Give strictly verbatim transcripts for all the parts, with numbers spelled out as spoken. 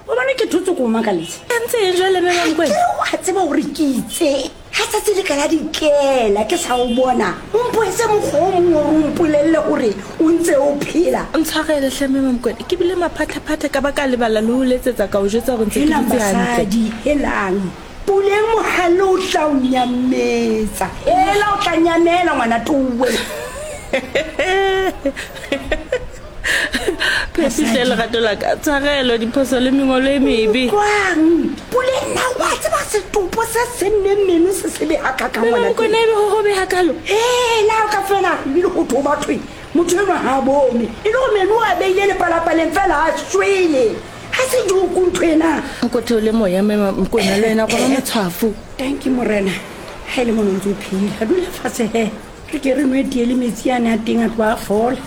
O bone ke thotse ko makaletse. Ntse e jwale mme Mamokwena. Ke wa tseba hore ke itse. Ha tsatsi le ka la dikela ke sa o bona. O mpoetse mokgwa o mong hore o mpolelle hore o ntse o phela. Ntshwarele hle mme Mamokwena. Ke bile maphathaphathe ka ba ka lebala le ho letsetsa ka o jwetsa hore ntse ke Helang dutse hantle. basadi, helang. Puleng mohale o tla o nyametsa. Hela o tla nyamela ngwana towe. Phepihle lerato la ka. Tshwarelo diphoso le mengolo e mebe. Kwang. Puleng na wa tseba setopo se senneng meno se sebe hakakang Mme ngwana Mamokwena ebe ho hobe hakalo. Hela o ka fela ebile ho thwe bathwe. Motho enwa ha a bone. E le hore meno a beile lepalapaleng fela a shwele. Ha se joke ntho ena. Nko theole moya mme Mamokwena le wena roba matshwafo. Thank you morena. Ha e le mona o ntse o phela. Dula fatshe he. Re ke re nwe tee le metsi ane a teng a tloha a fola.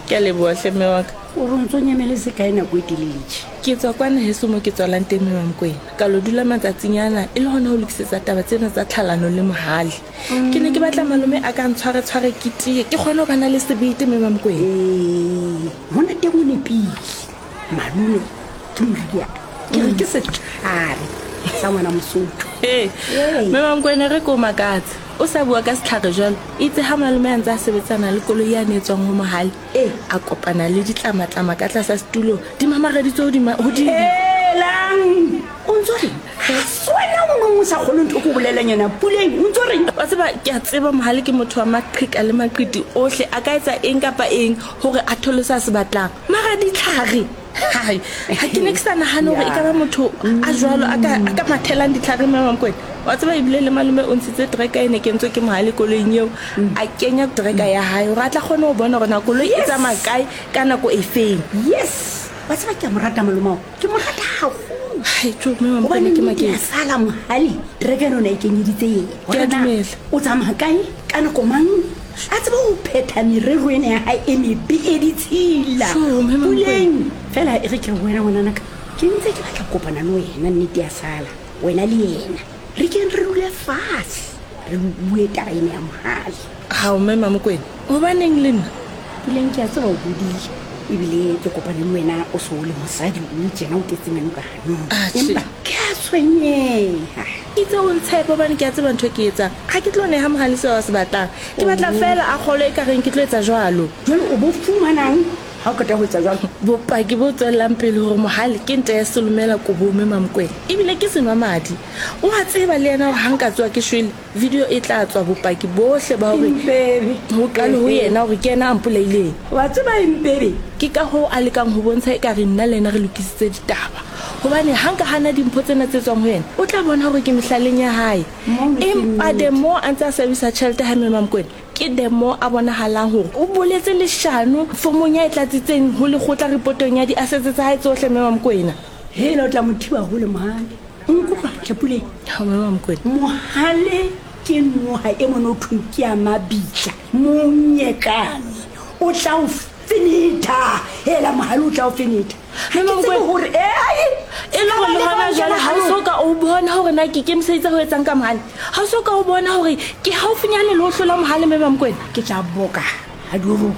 Ke a leboha hle mme wa ka. O re o ntso nyameletse kae nako e telele tje? Ke tswa kwana heso mo ke tswalang teng mme Mamokwena. Ka lo dula matsatsinyana e le hona ho lokisetsa taba tsena tsa tlhalano le mohale. Ke ne ke batla malome a ka ntshware tshware ke tiye, ke kgone ho bana le sebete mme Mamokwena. Ee, mona teng o nepile. Malome ke moriana. Ke re ke setlhare sa ngwana Mosotho. Ee, Ee. mme Mamokwena re ko makatse. O sa bua ka setlhare jwalo. Itse ha malome a ntse a sebetsana le koloi yane e tswang ho mohale. Ee. A kopana le ditlamatlama ka tlasa setulo, di mamareditswe hodima, hodimo. Helang! O ntso reng? Ha se wena o nong o sa kgolwe ntho e ke o bolellang yona, Puleng, o ntso reng? Wa tseba, ke a tseba mohale ke motho wa maqheka le maqiti ohle, a ka etsa eng kapa eng hore a thole se a se batlang. Mara ditlhare, hai, ha ke ne ke sa nahane hore e ka ba motho a jwalo a ka, a ka mathelang ditlhare mme Mamokwena. Wa tseba ebile le malome o ntshitse tracker e ne kentswe ke mohale koloing eo, a kenya tracker ya hae hore a tla kgone ho bona hore na koloi e Yes. tsamaya kae ka nako e feng. Yes. Wa tseba ke a mo rata malome ao. Ke mo rata haholo. Hai, tjo, mme Mamokwena Hobane ke nnete ya maketse. sala mohale, tracker ena o ne a e kenyeditse yena. Ke a Hore na dumela. o tsamaya kae, ka nako mang, a tsebe ho phetha merero ena ya hae e mebe e ditshila. Tjo, mme Mamokwena. Puleng, fela e re ke re ho wena ngwananaka, ke ntse ke batla ho kopana le wena nnete ya sala, wena le yena. Re keng re dule fatshe, re bue taba ena ya mohale. Hao, mme Mamokwena, hobaneng le nna? Puleng, ke a tseba o hodile, ebile ke kopane le wena o so o le mosadi o tjena o tletse meno ka hanong. Ah, tjhe. Empa ke a tshwenyeha. Itse o ntshepe hobane ke a tseba ntho e ke e etsang. Ha ke tlo neha mohale seo a se batlang. Ke batla Oh. feela a kgolwe e ka reng ke tlo etsa jwalo. Jwale o bo fumanang ha o qeta ho etsa jwalo? Bopaki bo tswellang pele hore mohale ke nta ya selomela kobong mme Mamokwena. Ebile ke senwa madi. O a tseba le yena hore ha nka tsoha ke shwele, video e tla tswa bopaki bohle ba hore Impebe. ho qale ho yena hore ke yena a mpolaileng. Wa tseba Impebe? Ke ka hoo a lekang ho bontsha ekare nna le yena re lokisitse ditaba. Hobane ha nka hana dimpho tsena tse tswang ho yena, o tla bona hore ke mehlaleng ya hae. Mono ke Empa nnete. the more a ntse a sebedisa tjhelete ha mme Mamokwena, ke the more a bonahalang hore o boletse leshano formong ya e tlatsitseng ho lekgotla repotong ya di-assets tsa hae tsohle mme Mamokwena. Hela o tla mo thiba hole mohale. Nkutlwa hle Puleng. Ha mme Mamokwena. Mohale ke noha e mona ho thweng ke ya mabitla, monyekane. O tla o fenetha. Hela mohale o tla o fenetha. Ha Mme ke tsebe Mamokwena. hore, eh, E le hore le hona jwale ha o so ka o bona hore na ke ikemiseditse ho etsang ka mohale. Ha o so ka o bona hore ke haufinyane le ho hlola mohale mme Mamokwena. Ke tla boka ha di rope.